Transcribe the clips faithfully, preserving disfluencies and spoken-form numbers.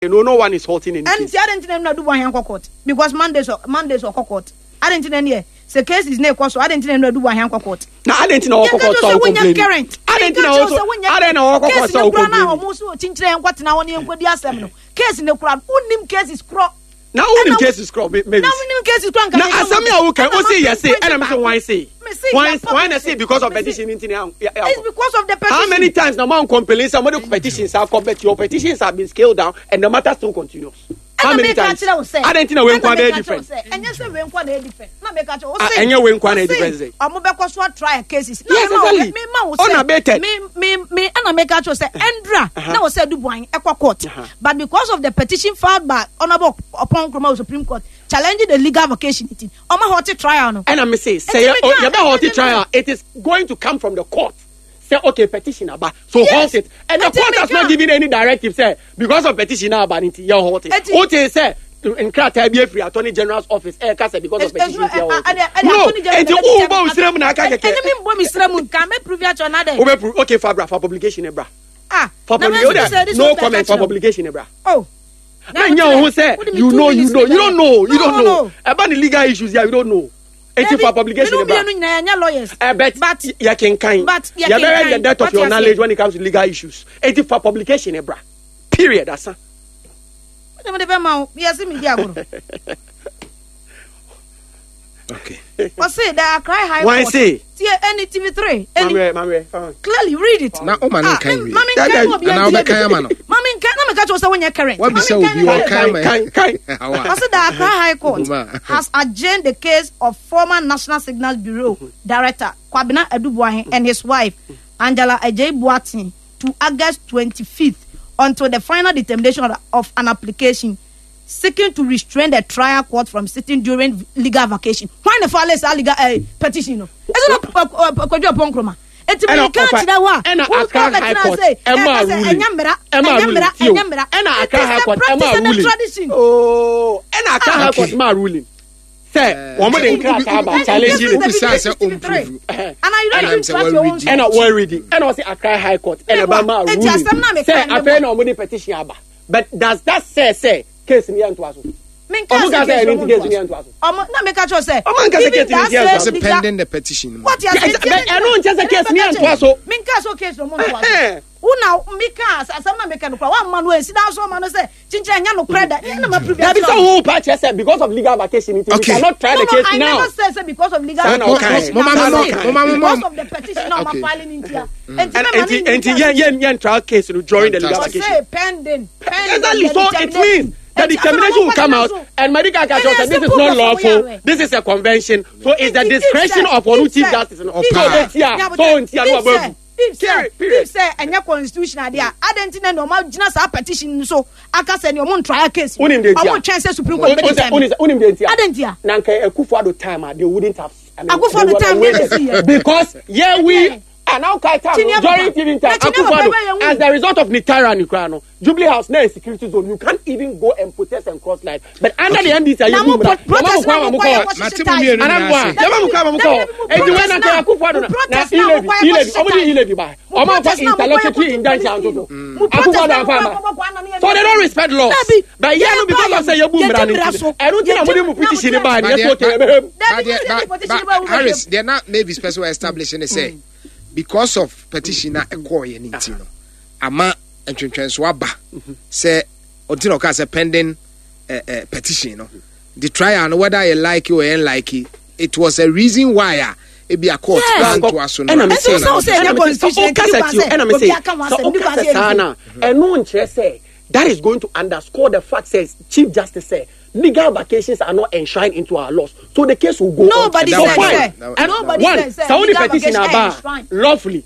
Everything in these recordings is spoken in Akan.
No, no one is halting any Ɛn case. Ti adi nti na Adu Boahen kɔ court because Monday so Monday so ɔkɔ court. Adi nti na neɛ sɛ cases na ekɔ so, adi nti na Adu Boahen kɔ court? Na adi nti na ɔkɔ court sɛ ɔkɔ complain? Current. Adi nti na ɔkɔ, adi na ɔkɔ court Case sɛ ne ɔkɔ kura na complain? Ɔmo so kyinkyerɛ yɛn nkɔ tena hɔ ne yɛn nkɔ di asɛm no, case ne kura, wonim cases korɔ. Na wonim Ɛna- cases korɔ, Mavis. Na wonim cases korɔ nka. Na asɛm yi a woka o se yɛ se, ɛna mi sɛ wɔn se Me se wɔn yɛ wɔn na se because of Me se- petition nti na It's because of the petition. How many times na mo complain sɛ mo de petitions akɔ, but your petitions have been scaled down and the matter still continues? How many times? Adi nti na wei nkwa bɛyɛ different? Ɛnyɛ sɛ wei nkwa na yɛ different na meka kyerɛ wo Ah, sɛ ɛnyɛ wei nkwa na yɛ wo different sɛ sɛ. Ɔmo bɛkɔ so atry cases na Yes, mema wo- exactly. me ma wo sɛ Unabated. me me me ɛna meka kyerɛ wo sɛ ɛndra Uh-huh. na wɔ sɛ Adu Boahen ɛkɔ court, Uh-huh. but because of the petition filed by Honourable Oppong Nkrumah of Supreme Court challenging the legal vacation nti ɔmo halt trial no. Ɛna mi se sɛ Nti yɛ meka- yɛ bɛ halt ɛna trial, it is going to come from the court say, okay, petition aba, so Yes. halt it, and the Nti court has meka- not given any directive say because of petition aba nti yɛ halt it. Eti- O te sɛ nkrataa bi efiri Attorney General's office ɛyɛ kasa because of petition nti yɛ halt it no. Eti o bɔ osire mu na aka kɛkɛ. Ɛne mi mbɔ mi sira mu nka mɛ prove akyerɛ na dɛ. O bɛ prove, okay, fa bra, fa publication ne bra. Ah. Fa Na mɛ publication sɛ this no one bɛ comment, fa ka kyerɛ wo. publication ne bra. Oh. Na nya ohun sɛ you know you know you don't know, you don't know ɛba ni legal issues ya, you don't know, eti fa publication ne bra. Minnu nyinaa yɛ lawyers. Uh, but But- yɛ kenkan but yɛ yɛ bɛrɛ kenkan. the depth of What your you knowledge say? when it comes to legal issues, eti fa publication ne bra, period, asa. Wọ́n de bɛ ma o yɛ si mi di agorɔ. Okay. Ɔsi the Accra High Why Court. say? Tie ɛni T V three. Ɛni Mamrɛ, mamrɛ, fine. Clearly read it. Na o ma ne Ah, nkan wie. Mami nkan na obi Anaa ɛntie wobɛkan bi. ama no? Mami nkan na meka kyerɛ sɛ wonyɛ current. Wabisa Mami obi nkan na- ɔkan ma. Kan, kan. Awa. Ɔsi the Accra High Court Uma. has adjourned the case of former National Signals Bureau Director Kwabena Adu Boahen and his wife Angela Adjei Boateng to August twenty-fifth until the final determination of, of an application seeking to restrain the trial court from sitting during legal vacation. Why the file is legal uh, petition? No, it's not Kojo Oppong Nkrumah. Eti mi Ɛna ka ɔfa- kyerɛ wo a, ɛna wo Accra kɔ High bɛtena Court sɛ, ɛma ɛka sɛ ruling. ɛnyɛ mmara, Ɛma ɛnyɛ ruling, mmara, tio. ɛnyɛ mmara. Ɛna It Accra is High the Court practice ɛma and the ruling. tradition. Oh, ɛna Accra High Court Okay. ma ruling sɛ wɔn de nkrataa aba challenge This is it. the Wobisa sɛ T V three. ɔmprove. And I don't Ɛna even sɛ trust your own. wɔredi. Ɛna wɔredi, ɛna ɔsi Accra High Court ɛna ɛba ma Eti ruling asɛm na meka sɛ ne afei bɔ. na wɔn de petition aba, but does that say say case ni yɛ ntoa so? Menka Ɔmo sɛ ka sɛ case ɛno ɔmo nti case ni ntoa yɛ so. ntoa so. Ɔmo na meka kyerɛ sɛ Ɔmo anka sɛ even case ni that yɛ ntoa same so. Ɔsɛ legal- pending the petition. What you are Yeah, saying? but ɛno nkyɛ sɛ case ni yɛ ntoa so. Menka sɛ case no mo ntoa so. Ɛhɛn. Wona meka asɛm na meka no kora woamma no ansi da so ɔma no sɛ kyinkyerɛ ɛnyɛ nokorɛ da ɛna ma prove. Dabi, sɛ wo pa kyerɛ sɛ because of legal vacation nti we Okay. cannot try No, the no, case I now. never said say because of legal Saa na vacation. ɔkae. Mo- mo- Na mo- say mo- mo- mo- because of the petition na ɔma Okay. filing ntia. Enti And mɛma ne enti enti ntia. yɛn yɛn yɛn trial case no during the legal Fantastic. Ɔse vacation. pending, pending Exactly. the So it determination. means the Enti, determination will come out, so- and Medical Catch Ɛyɛ said this is simple not kɔsɔ lawful. woyɛ. This is a convention. So it's the If- if discretion sɛ- of one if chief sɛ- justice. So if sɛ- ntia, Yeah, so ntia no if sɛ- ababu. if sɛ Period, period. If sɛ ɛnyɛ constitution adeɛ a, adɛn nti na nea ɔma gyina saa petition no so aka sɛ nea ɔmo ntrial case no, Wonim deɛ nti a? ɔmo twɛn sɛ Supreme Court bɛ determine? Unim de ntia. Adɛn nti a? Na nka Akufo-Addo time a, they wouldn't have. I mean, Akufo-Addo they would have time, waited. they didn't see. Because yeah, we Yeah. and now kai time Chinia during Papa. T V time Na Chinia Akufo-Addo Papa, yɛn wu. as the result of Nitara Nikra no, Jubilee House now a security zone, you can't even go and protest and cross lines, but under the N D C Na mo pro- protest na mo kɔ yɛ kɔ Mate hyehyɛ mo mmienu ties. nyinaa Anamboa, ase. yɛma mo kɔ mo kɔ. Eti when na Akufo-Addo na Mo na protest na mo e-levy kɔ yɛ e-levy kɔ ɔmo de hyehyɛ e-levy ba Mo ɔmo afa protest na mo kɔ yɛ interlocutory kɔ injunction police. ato so. Mo protest Akufo-Addo na mo afa kɔ ama. yɛ kɔ kɔ So they don't respect laws. Dabi, But yeah, no, because of say yebu yɛgye mmara no mmara nti so. ɛno nti na mo de mo Yɛgye- petition na ba But ne yɛ deɛ- so okay ɛbɛhɛ mu. Dabi, But deɛ- mo but- sɛ petition but ba wo bɛhwɛ. Harris, deɛ na Mavis pɛ sɛ establish ne sɛ because of petition na ɛkɔɔyɛ ne nti no ama ntwentwɛnso aba sɛ ɔnti na ɔka sɛ pending uh, uh, petition no, the trial no, whether you like it or you like it, it was a reason why a ebi a court Yes. antoa so no. Ɛna me Ɛnti se wo sɛ wo sɛ ɛnyɛ ɛna me se constitution sɛ nti ɔkasa kwan tio sɛ ɛna me obi se aka ho sɛ asɛm, bi kwan ɔkasa sɛ saa yɛnni. na ɛno nkyerɛ sɛ that is going to underscore the fact says Chief Justice say legal vacations are not enshrined into our laws, so the case will go Nobody on. said So fine. say- And nobody one said say sɛ wode legal petition vacation aba enshrined. lawfully,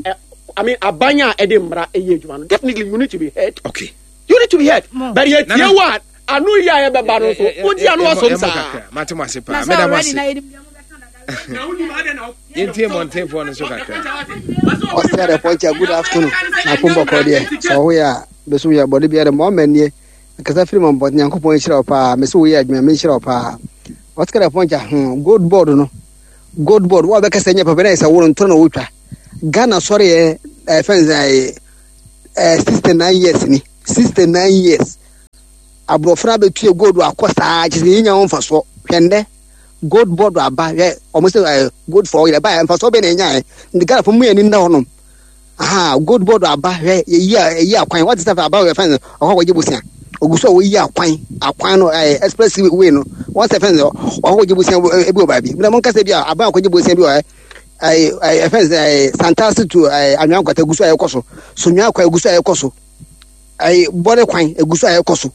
eh, I mean, abanya a ɛde mmara ɛyɛ adwuma no, definitely you need to be heard. Okay. You need to be heard, Mo. but yɛ tie Nana. wa ano yi a yɛbɛba no so wodi ano ɔsom saa. Mate mo ase Na paa. sɛ Meda mo already ase. na yɛnim deɛ mobɛka dada. Yɛntie mmɔntenfoɔ no nso kakra. Ɔsɛ dɛ pɔnkya, good afternoon. Na akombɔkɔ deɛ sɛ ɔho yɛ a bɛsom yɛ bɔde biara ma ɔma nie nkasa firi ma mbɔte. Nyankopɔn nhyira wo paa. Mɛ sɛ woyɛ adwuma, menhyira wo paa. Ɔsɛ dɛ pɔnkya hmm, Gold Board no, Gold Board wo a bɛka sɛ nyɛ papa na yɛ sɛ wo no ntoro na wotwa Ghana sɔre yɛ ɛfɛn sɛ ɛɛ sixty nine years ni, sixty nine years. Aborɔfo no abɛtue gold akɔ saa kyerɛ sɛ yɛnya ho mfasoɔ. Hwɛ ndɛ gold board aba, hwɛ ɔmo sɛ ɛɛ gold for oil ɛba yɛ mfasoɔ bɛn na yɛnyaeɛ. Nti Ghanafoɔ mu yɛn ani nna hɔnom. Aha, gold board aba, hwɛ yɛyi a yɛyi akwan wɔte sɛ aba yɛ fɛn ɔkɔ akɔgye bosia ogu so a wɔyi akwan akwan no ɛɛ express way no wɔn sɛ fɛn ɔkɔ akɔgye bosia ebi wɔ baabi mbɛ mo nkasa bi a aban akɔgye bosia bi wɔ ɛɛ ɛɛ fɛn sɛ ɛɛ Santase to ɛɛ Anwea Nkwata egu so a ɛkɔ so, Sonwea kwan egu so a ɛkɔ so, ɛɛ bɔre kwan egu so a ɛkɔ so,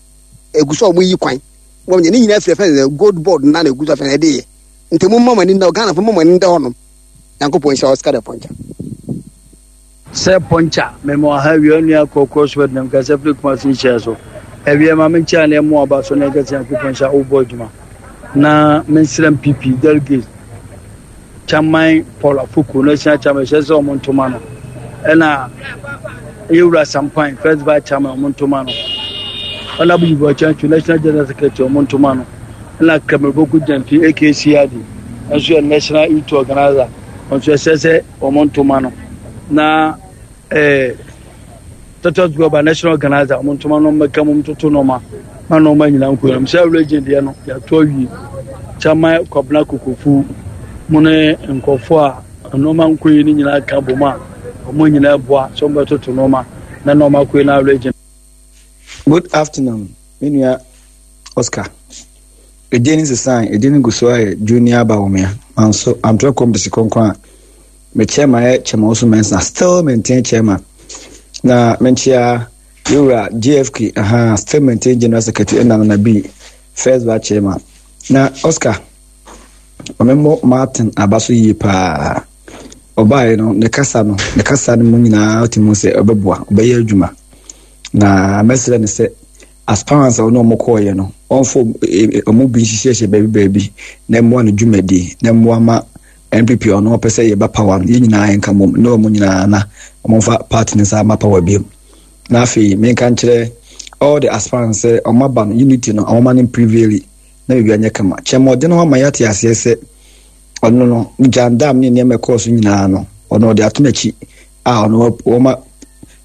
egu so a wɔyi kwan wɔn nyɛ ne nyinaa firi fɛn sɛ gold board na na egu so a fɛn ɛde yɛ. Nti mo mma mo ani nda, Ghana fo mo mma mo ani nda hɔnom. Nyankopɔn nhyira Oscar the Puncher. Sɛ pɔnkya mema ɔha awia onua kɔ crossword nam kasa firi Kumasi nhyɛ so awia ma menkyɛ ne ɛmo aba so na ɛkɛsɛ Nyankopɔn nhyɛ wobɔ adwuma na mensrɛ M P P delegates, Chairman Paul Afoko, national chairman, ɛhyɛ sɛ ɔmo ntoma no, ɛna yɛwura Sampan, first vice chairman, ɔmo ntoma no, ɔna Abubu Ɔkyɛnso, national general secretary, ɔmo ntoma no, ɛna Kamereboku Gyamfi A K C I D nso yɛ national youth organizer nso, ɛsɛ sɛ ɔmo ntoma no, na ɛɛ Titus Goba, national organizer, ɔmo ntoma no, mmɛka mo ntoto nneɛma ma nneɛma nyinaa nkɔ yɛn sɛ region deɛ no yɛato awie. Chairman Kwabena Kokofu mo ne nkɔfoɔ a nneɛma nkɔ yi no nyinaa ka bom a ɔmo nyinaa boa sɛ ɔmo bɛtoto nneɛma na nneɛma kɔ yi na region. Good afternoon, me nua Oscar. Edin ne sesan, edin no gu so ayɛ Junior Bawumia. Manso antorɔ kɔmpisi kronkron a me chairman yɛ Chairman Osu Mensah, still maintain chairman. Na menkyia yɛwura J F K, aha, still maintain general secretary, ɛna Nana B, first vice chairman. Na Oscar, ɔmemmɔ Martin aba so yie paa. Ɔbaeɛ no, ne kasa no, ne kasa no mu nyinaa ɔte mu sɛ ɔbɛboa, ɔbɛyɛ adwuma. Na mɛsrɛ no sɛ aspirants a ɔne ɔmo kɔɔyɛ no, ɔmfo ɔmo bi nhyehyɛhyɛ baabi baabi na mmoa no dwumadi na mmoa ma N P P. Ɔno ɔpɛ sɛ yɛba power no, yɛn nyinaa yɛnka mmom na ɔmo nyinaa na ɔmomfa party no nsa ama power biom. Na afei menka nkyerɛ all the aspirants sɛ ɔmo aba no, unity no ɔmoma no prevail na biribi anyɛ kama. Kyɛm ɔde no ho ama yɛate aseɛ sɛ ɔno no gyandam ne nneɛma ɛkɔɔ so nyinaa no, ɔno ɔde ato n'akyi a ɔno wɔma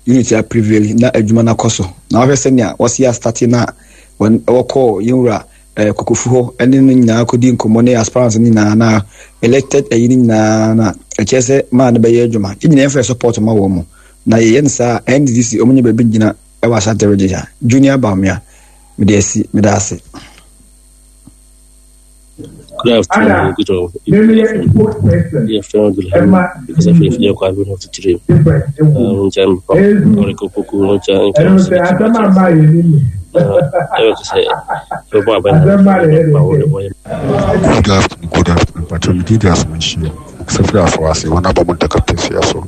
unity a prevail na adwuma no akɔ so. Na wahwɛ sɛnea wɔsi a start no a wɔkɔɔ yɛnwura ɛɛ Kokofu hɔ ɛne no nyinaa kɔdi nkɔmmɔ ne aspirants no nyinaa na elected ɛyi no nyinaa na ɛkyerɛ sɛ maa no bɛyɛ adwuma. Yɛn nyinaa yɛmfa support ma wɔn mo na yɛyɛ no saa. N D C wɔn nyɛ baabi gyina ɛwɔ Asante Region ha. Junior Bawumia, mede asi, mede ase. Good afternoon, good evening. Good afternoon, good evening. Because I feel like I've been to three. Um, jam Oriko Poku, jam Good afternoon, good afternoon. Patrol me did as mentioned. Sefra for us, one about Montaka Pesia so.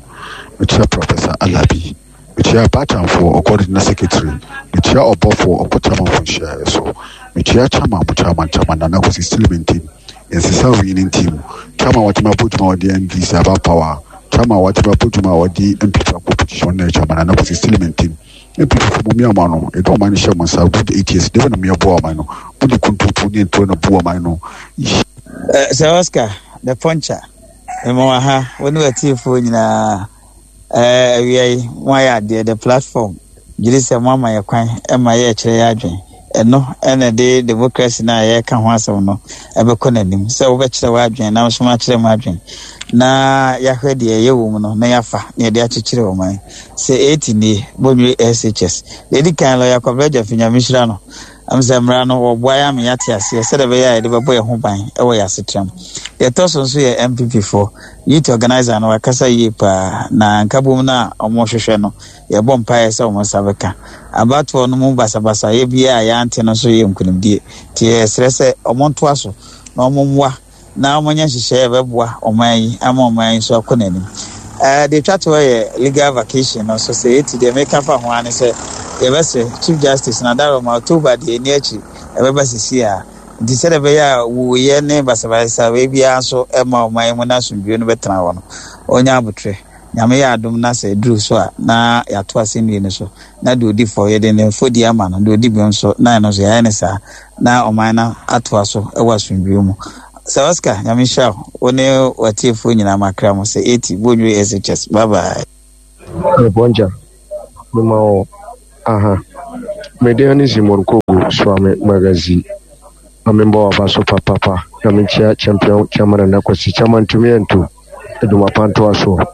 Mekyia Professor Alabi. Mekyia Batamfo, ɔkɔ secretary. Mekyia Ɔbɔfo, ɔkɔ chairman for nhyia so. Mekyia chairman, mo chairman, chairman Nana Kwesi still maintain. Nsesa winning team. Chairman watuma abɔ dwuma wɔde N D C aba power. Chairman watuma abɔ dwuma wɔde N P P akɔ position na chairman Nana Kwesi still maintain. N P P fo mo mmea no, ɛdɔ ɔman no hyɛ mo nsa good eight years. Dɛbɛ na mo yɛ boa ɔman no. Mo de kuntumpu ne ntoro na bu ɔman no. Sir Oscar the Puncher, mema wɔ ha, wo ne watiefoɔ nyinaa. Awia yi mo ayɛ adeɛ, the platform gyere sɛ mo ama yɛ kwan ma yɛkyerɛ yɛ adwen. Ɛno ɛna de democracy no a yɛreka ho asɛm no ɛbɛkɔ n'anim sɛ wobɛkyerɛ w'adwen na nso makyerɛ mu adwen na yɛahwɛ deɛ ɛyɛ wɔ mu no na yɛafa na yɛde akyekyere ɔman. Sɛ ɛti nie Bɔnwere S H S deɛ ɛdi kan lɔya Kwabena Gyamfi, Nyame hyira no am sɛ mmara no wɔboa yɛ ama yɛate aseɛ sɛdeɛ ɛbɛyɛ a yɛde bɛbɔ yɛn ho ban ɛwɔ yɛ asetram. Deɛ ɛtɔ so nso yɛ N P P foɔ youth organizer no, wakasa yie paa na nkabom no a ɔmohwehwɛ no, yɛbɔ mpaeɛ sɛ ɔmo nsa bɛka. Abatoɔ no mu basabasa yɛ biara a yɛante no nso yɛ nkonimdie, nti yɛsrɛ sɛ ɔmo ntoa so na ɔmo mmoa na ɔmo nyɛ nhyehyɛeɛ a ɛbɛboa ɔman yi ama ɔman yi nso akɔ n'anim. ɛɛ deɛ twa toɔ yɛ legal vacation no nso, sɛ yɛti deɛ meka fa ho ara ne sɛ yɛbɛsrɛ Chief Justice na daroma October deɛ ɛni akyi ɛbɛba sisi a, nti sɛdeɛ ɛbɛyɛ a wuyɛ ne basabasa wei biara nso ɛma ɔman yi mu na asomdwie no bɛtena hɔ no, ɔnya abotire. Nyame yɛ adom na sɛ ɛduru so a na yɛato asɛnnue no so na deɛ ɔdi fɔ yɛde ne mfɔdi ama no, deɛ ɔdi bem nso na ɛno nso yɛayɛ ne saa na ɔman no atoa so ɛwɔ asomdwie mu. Sɛ Oscar, Nyame hyira wo, wo ne watiefoɔ nyinaa. Makra mo sɛ eighty Bɔnwire S H S. Bye bye. Mepɔnkya mema wo aha. Mede ne Simon Kogo Suame Magazi. Na membɔ waba so papapa na menkyia champion chairman Nana Kwasi chairman ntumi ɛnto adwuma pa ntoa soɔ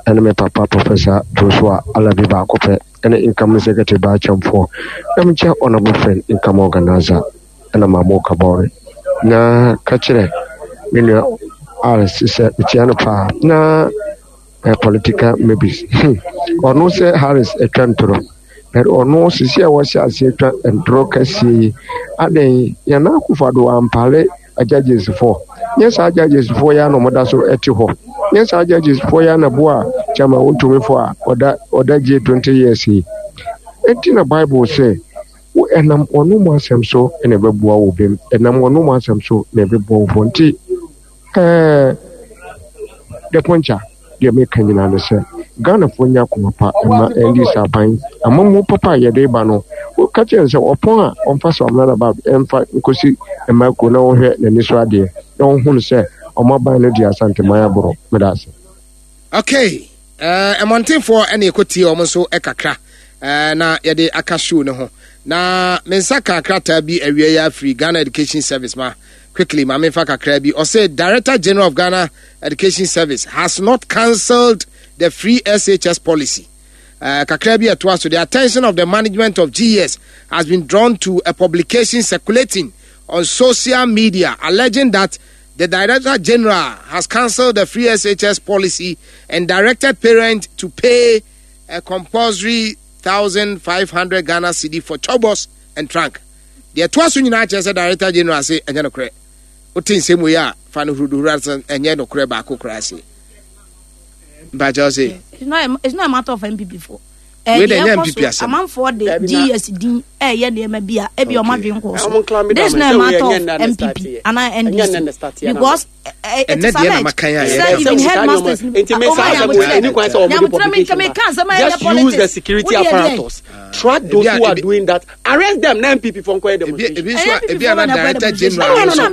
ɛne me papa Professor Joshua Alabi baako pɛ ɛne incoming secretary baa kyɛmfoɔ na menkyia honorable friend income organizer ɛna Maamo Kabɔre na ka kyerɛ me nua Alice sɛ mekyia no paa na eh, political maybes ɔno sɛ Harris atwa ntorɔ but ɔno sisi a wɔhyɛ ase atwa ntorɔ kɛseɛ yi adɛn yɛn akufo-addo ampale judges foɔ nyɛ saa judges foɔ yi a na wɔda so te hɔ nyɛ saa judges foɔ yi a na boa chairman wontumi foɔ a ɔda ɔda gye twenty years yi eti na bible sɛ wo ɛnam wɔn mu asɛm so na ɛbɛboa wo bem ɛnam wɔn mu asɛm so na ɛbɛboa wo fɔ nti ɛɛ dɛpɔnkya deɛ meka nyinaa ne sɛ ghanafoɔ nya akoma pa ɛma N D C aban amammuo papa a yɛde ba no. Woka kyerɛ no sɛ ɔpɔn a ɔmfa sɛ ɔmena naba ɛmfa nkɔsi mma kuo na wɔhwɛ n'ani so adeɛ na wɔhunu sɛ ɔmo aban no di Asanteman aborɔ. Meda ase. Okay, uh, mmɔntenfoɔ ɛna ɛkɔtie wɔn nso kakra uh, na yɛde aka show no ho na me nsa ka krataa bi awia yi afiri Ghana Education Service. Ma quickly ma memfa kakra bi. Ɔsɛ Director General of Ghana Education Service has not cancelled the free S H S policy. uh, kakra bi ɛtoa so, the attention of the management of G E S has been drawn to a publication circulating on social media alleging that the Director General has cancelled the free S H S policy and directed parents to pay a compulsory one thousand five hundred Ghana cedi for chalkboards and trunk. Deɛ ɛtoa so nyinaa kyerɛ sɛ Director General se ɛnyɛ nokorɛ. Wote nsɛm wei a, fa no huruduhuru ase, ɛnyɛ nokorɛ baako koraa se. Mpakyɛw se. It's not a, it's not a matter of N P P for. Wei de ɛnyɛ N P P asɛm. Amanfoɔ de G E S din ɛyɛ nneɛma bi a ebi ɔmo adwene kɔ so. This is not a matter of N P P ana N D C because it is alleged sɛ even headmasters. Nti me saa asɛm wei ɛni kwan sɛ ɔmo de publication ba. Just use the security apparatus, track those who are doing that, arrest them na N P P fɔ nkɔyɛ demonstration. Ebi nso ebi ana Director General no nso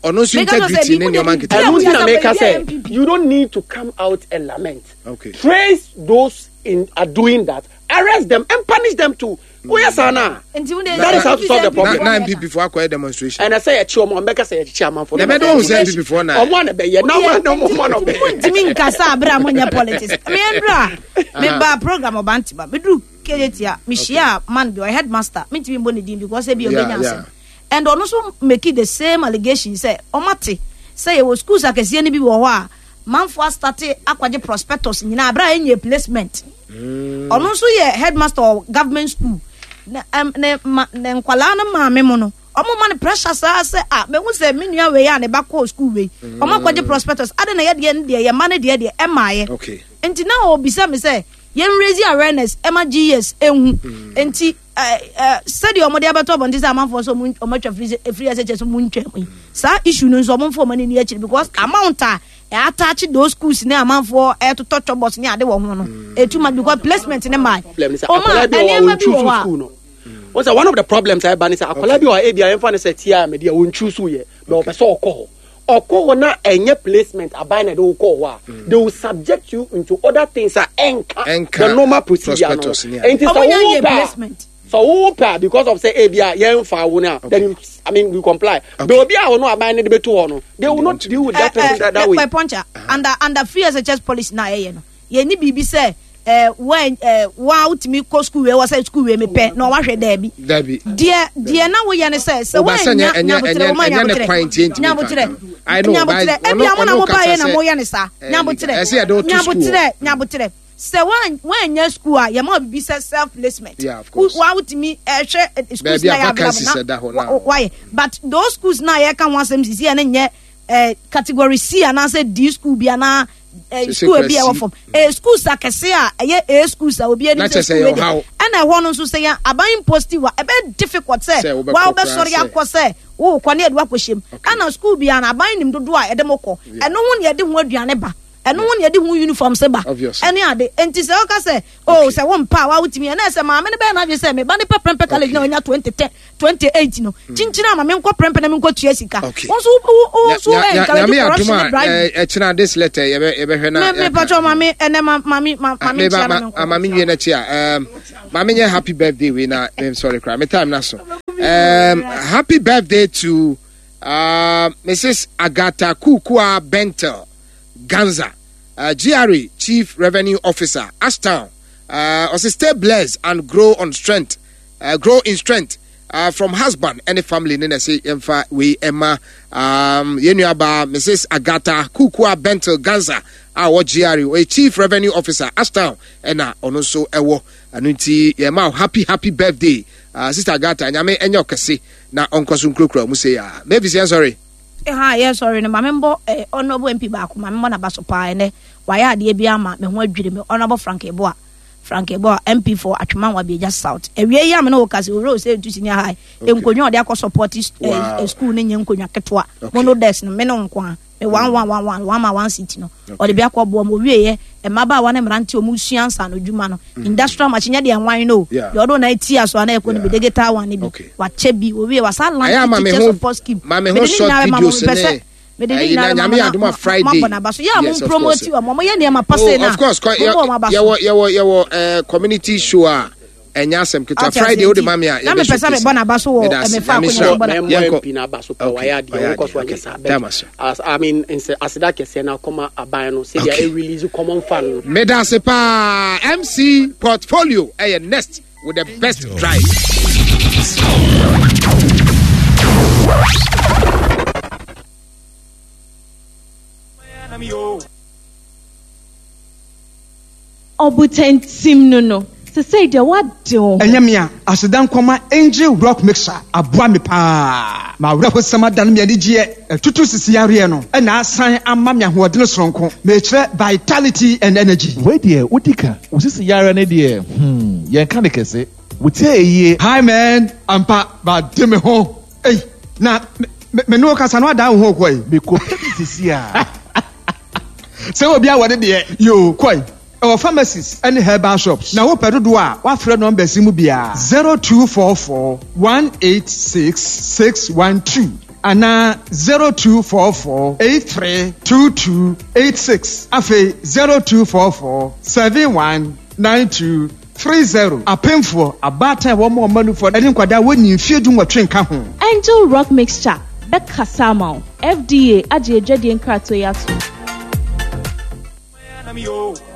ɔno nso integrity ne nneɛma nkete. Ɛnu ti na meka sɛ you don't need to come out and lament. Okay. Trace those in are doing that, arrest them and punish them too. Oyɛ saa na that is how to solve the problem. Na N P P fo akɔyɛ demonstration. Ɛnna sɛ yɛkyi ɔmo, ɔmo bɛka sɛ yɛkyi amanfo. Na ɛbɛdɛ ohun sɛ N P P fo na. Ɔmo ana bɛyɛ na ɔmo ana ɔmo ana bɛyɛ. Ntumi nkasa abere a mo nyɛ politics. Mi ndura mi ba program ɔba ntima mi duru Kejetia, mi hyia man bi, ɔyɛ headmaster. Mi ntumi mbɔ ne din because ebi ɔbɛnya asɛm, and ɔno nso make the same allegation sɛ ɔmo ate sɛ yɛwɔ schools akɛseɛ no bi wɔ hɔ a manfo astart akwagye prospectus nyinaa abere a ɛnyɛ placement. Ɔno nso yɛ headmaster of government school ne ɛm ne ma ne nkwalaa no maame mu no, ɔmo ma no pressure saa sɛ a mehu sɛ me nua wei a ne ba kɔɔ school wei, ɔmo akɔgye prospectus ade na yɛdeɛ no deɛ yɛ ma no deɛ deɛ ɛmaayɛ. Okay. Nti na ɔbisa me sɛ yɛn raise awareness ɛma G E S ehu. Nti ɛɛ ɛɛ sɛdeɛ ɔmo de abɛtɔ abɔnten sɛ amanfoɔ sɛ ɔmo ɔmo atwa free free S H S ɔmo ntwa mu yi, saa issue no nso ɔmo nfa ɔmo ani ni akyiri because amount a ɛattach those schools ne amanfoɔ ɛtotɔ chalkboards ne ade wɔ ho no etu ma because placement ne maa Problem sɛ ɔmo akwadaa a bi wɔ hɔ a nneɛma bi wɔn wɔ hɔ a school no wɔn sɛ one of the problems a ɛba ne sɛ akwadaa bi wɔ hɔ a ebi a yɛmfa ne sɛ tia mɛdi a wɔn choose yɛ but ɔpɛ sɛ ɔkɔ hɔ ɔkɔ hɔ na ɛnyɛ placement aban na ɛde wokɔ hɔ a, they will subject you into other things a ɛnka Ɛnka the normal procedure no. Prospectus ne ade. Nti sɛ Ɔmo nya wo nyɛ pɛ a placement. So wo pɛ a, because of say ebi a yɛn fa wo na, then you, I mean, you comply, but obi a ɔno aban ne de bɛto hɔ no, they will not deal with that person that, that way. Pɛ pɔnkya under under free S H S policy na ɛyɛ no, yɛn ni biribi sɛ ɛɛ wɔn ɛɛ wɔn a wotumi kɔ school wei wɔ sɛ school wei mi pɛ na ɔwahwɛ dɛɛbi. Dabi. Deɛ deɛ na woyɛ ne sɛ sɛ Woba sɛ wɔanya ɛnyɛ- ɛnyɛ- nyabotrɛ wɔn ɛnyɛ ne nyabotrɛ kwan nti ɛntumi nyabotrɛ nka. I know, nyabotrɛ but ebi ɔno- amo na ɔno mo ba yɛ kasa na sɛ- mo yɛ ne saa Eh, nyabotrɛ ɛsɛ yɛde wo to school. Nyabotrɛ, nyabotrɛ sɛ wɔn wɔanya school a yɛma bibi sɛ self placement. Yeah, of course. Wa wotumi ɛhwɛ eh, schools Baabi na a yɛ available vacancies ɛda hɔ na na. wa- wayɛ, but those schools na yɛka ho asɛm sisi yɛ ne nyɛ eh, category C anaasɛ D school bi anaa eh, Sisi school kura bi a ɛwɔ C. fam, eh, schools akɛse a ɛyɛ A schools a obi anim Na sɛ kyerɛ sɛ school ɛyɛ wei deɛ ɔhaw. Ɛna ɛhɔ no nso sɛ yɛn aban positive a, ɛbɛyɛ difficult sɛ Sɛ wobɛkɔ wa wobɛsɔre koraa sɛ- akɔ sɛ wowokɔ ne yɛde wakɔhyɛ mu. Ɛna school bi a na aban nim dodoɔ a yɛde mo kɔ, ɛno ho ne yɛde ho aduane ba. Ɛno ho ne yɛde ho uniform sɛ ba. Ɛne ade nti sɛ ɔka sɛ oh sɛ wo mpa a wawotumi ɛna sɛ maame no bɛyɛ n'adwene sɛ meba ne pɛ Prempeh College na ɔnya twenty ten twenty eight no kyinkyin ama me nkɔ Prempeh na me nkɔ tua sika. Wɔn nso wo nso encourage corruption ne bribery. Ɛkyina this letter yɛbɛ yɛbɛhwɛ na. Me me patro maame ɛnɛ ma maame maame nkyia na me nkɔ. Maame nwie n'akyi a maame nyɛ happy birthday wei na I'm sorry kora me time na so. Um, happy birthday to uh, Missus Agatha Kukua Bentel Ganza, uh, G R A Chief Revenue Officer, Ashtown. Uh, stay blessed and grow on strength, uh, grow in strength uh, from husband and family. Nene say emfa we emma um yenuaba Missus Agatha Kukua Bentel Ganza, our G R A Chief Revenue Officer, Ashtown, and ono so ewo anunti yema happy happy birthday. Uh, Sister Agatha, nyame enyo kese na onkoso nkrokro mu say ya. Maybe say sorry. Eh ha yes sorry no mame mbo eh honorable M P baako mame mbo na baso pa ene why ade bi ama me ho adwiri me Honorable Frank Eboa Frank Eboa M P for Atwemanwa Bieja South. Ewie yi am na wo kase wo say tu senior high enkonwa ode akọ support school ne nyenkonwa ketewa mono desk no me no nko a me one one one one one one seat no ode bi akọ bo mo wie ye emaba wa ne mrante omu suansa no dwuma no industrial machine de enwan no de odo na ti aso na ekọ no bi digital one bi wa che bi owie wa sa land teacher support scheme ma me ho short videos ne me de ni na ma Friday ma na so ya mo promote wa mo ye ne ma passe na of course ye ye ye ye community show a enya asem ketewa Friday o de ma me a na me pesa me bona baso wo me fa akonya bona M P na baso pa wa ya de wo koso anya sa as I mean aseda kese na koma aban no say they release common fund me da se pa M C portfolio eh next with the best drive. Obutentim no no. Se say de what do. Enya me a asedan koma Angel Rock Mixer aboa me pa. Ma wura hosama dan me ani gie tutu sisi are no e na asan ama me ahoɔden soronko. Me kyerɛ vitality and energy. We de odika osisi yare ne de hmm yen ka ne kese. Wotie eyie. Hi man, ampa ba de me ho. Ei na me no kasa no ada ho koi. Me ko sisi a. Se obi a wode de yo koi. Our pharmacies and herbal shops. Now, Pedro, what friend number Simubia zero two four four one eight six six one two and zero two four four eight three two two eight six. Afe zero two four four seven one nine two three zero. A painful a bad one more money for any quada when you fear do what drink. Angel Rock Mixture, Bekasamo, F D A, Aje Jedian Kratoyatu.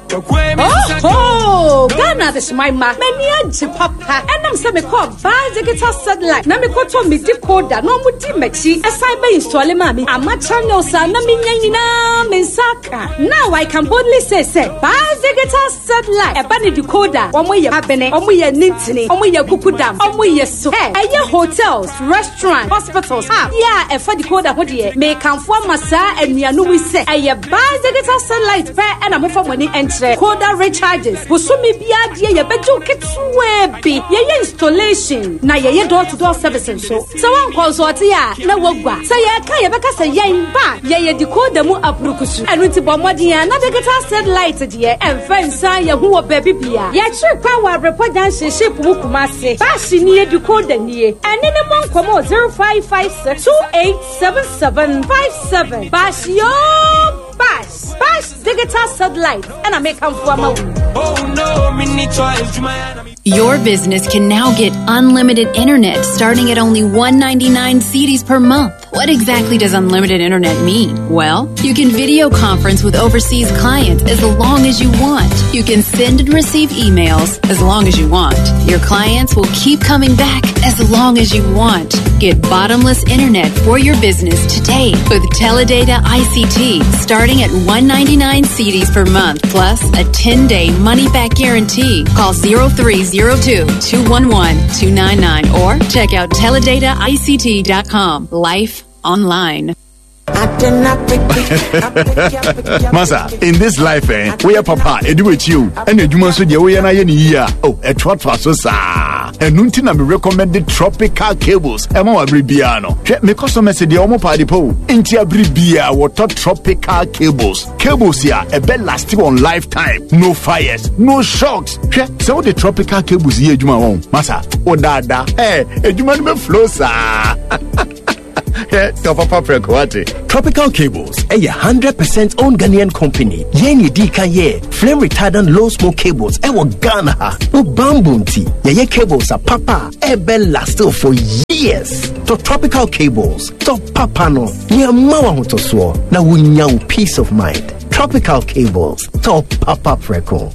Oh, oh, Ghana this my ma. Many a papa. And I'm saying, call buy digital satellite. Na me koto me decoder. No mo di mechi. A cyber install mami. Ama channel sa na me nyina me saka. Now I can boldly say say buy digital satellite. E ba ne decoder. Omo ye abene. Omo ye nintini. Omo ye kukudam. Omo ye so. Hey, eye hotels, restaurant, hospitals. Ah, yeah, e fa decoder ho de. Me kanfo amasa anuanu wi say. Eye buy digital satellite pe na mo fa money entry. Coda recharges. Bosumi bia die ye bejo ketwe bi. Ye installation na ye door to door service so. So wan consult ya na wagwa. Say ye ka ye beka say ye ba ye ye decoder mu aprukusu. Enu nti bo modin ya na digital satellite de emfa nsan ye hu wo ba bibia. Ye chiri kwa wa report junction ship mu Kumase. Bashi ni ye decoder ni. Ene ne mo nkomo zero five five six two eight seven seven five seven. Bashi yo Bash Bash digital satellite and I make Oh no, Your business can now get unlimited internet starting at only one ninety-nine cedis per month. What exactly does unlimited internet mean? Well, you can video conference with overseas clients as long as you want. You can send and receive emails as long as you want. Your clients will keep coming back as long as you want. Get bottomless internet for your business today with Teledata I C T starting at one ninety-nine cedis per month plus a ten-day money-back guarantee. Call zero three zero two, two one one, two nine nine or check out teledata I C T dot com. Life online. Masa, in this life, eh, we are papa, edu with you, and the so deɛ woyɛ no ayɛ ne yie a, oh, ɛtoatoa so saa. Ɛno nti na me recommended tropical cables ɛma wɔ abere biara no. Hwɛ, me customers deɛ ɔmo paade po. Nti abere biara wɔtɔ tropical cables. Cables yi a ɛbɛ last on lifetime. No fires, no shocks. Hwɛ, sɛ wode tropical cables yi adwuma wɔn, masa, wodaadaa, eh, adwuma no bɛ flow saa. Tropical Cables, a hundred percent owned Ghanaian company. Yen di kan ye flame retardant low smoke cables. Ewo Ghana ha. O bamboo nti. Ye cables a papa. Ebe last for years. To Tropical Cables. To papa no. Nye mawa hutosuo. Na wunya peace of mind. Tropical Cables. To papa preko.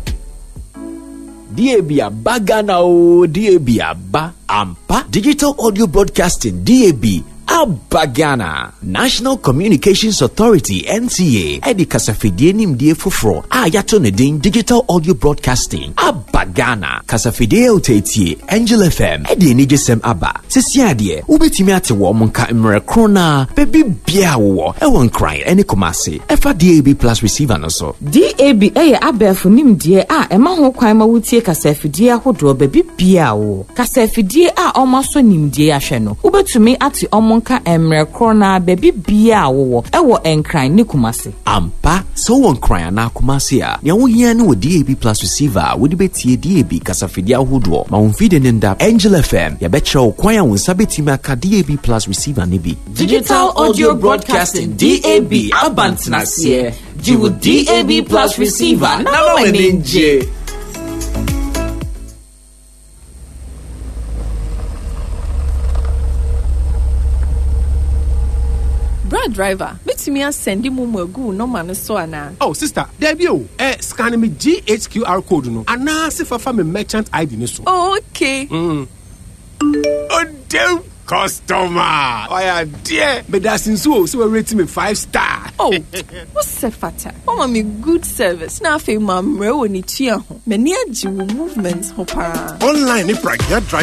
D A B aba Ghana o, D A B aba ampa. Digital Audio Broadcasting D A B aba Ghana. National Communications Authority N C A ɛde kasafidie nimdie foforɔ a yɛato ne din Digital Audio Broadcasting aba Ghana. Kasafidie a woteetie Angel F M ɛde anigyesɛm aba. Sisi adeɛ wobɛtumi ate wɔ mo nka mmerɛ koro na baabi biara wowɔ ɛwɔ Nkran ɛne Kumasi ɛfa D A B Plus receiver no so. D A B ɛyɛ abɛɛfo nimdeɛ a ɛma ho kwan ma wotie kasafidie ahodoɔ baabi biara wowɔ. Kasafidie a ɔmo asɔ nimdeɛ ahwɛ no wobɛtumi ate ɔmo nka mmerɛ koro na baabi biara wowɔ ɛwɔ Nkran ne Kumasi. Ampa sɛ wowɔ Nkran anaa Kumasi a nea wohia ne wɔ D A B Plus receiver a wode bɛtie D A B kasafidie ahodoɔ ma wo mfidie ne nda Angel F M yɛbɛkyerɛ wo kwan a wo nsa bɛtumi aka D A B Plus receiver ne bi. Digital Audio Broadcasting D A B abantenaseɛ gye wo D A B Plus receiver na ma w'ani ngye. Brad driver, metumi asɛnde mu mu agu nɔma no so ana? Oh sister, there o. Eh, scan me G H Q R code no. Ana se fafa me merchant I D no so. Oh, okay. Mm. Oh, damn customer. Oh, dear. But that's in so so we rate me five star. Oh, what's the fata? Oh, me good service. Na fe ma mre woni tua ho. Me ni agye wo movement ho pa. Online ni pragya drive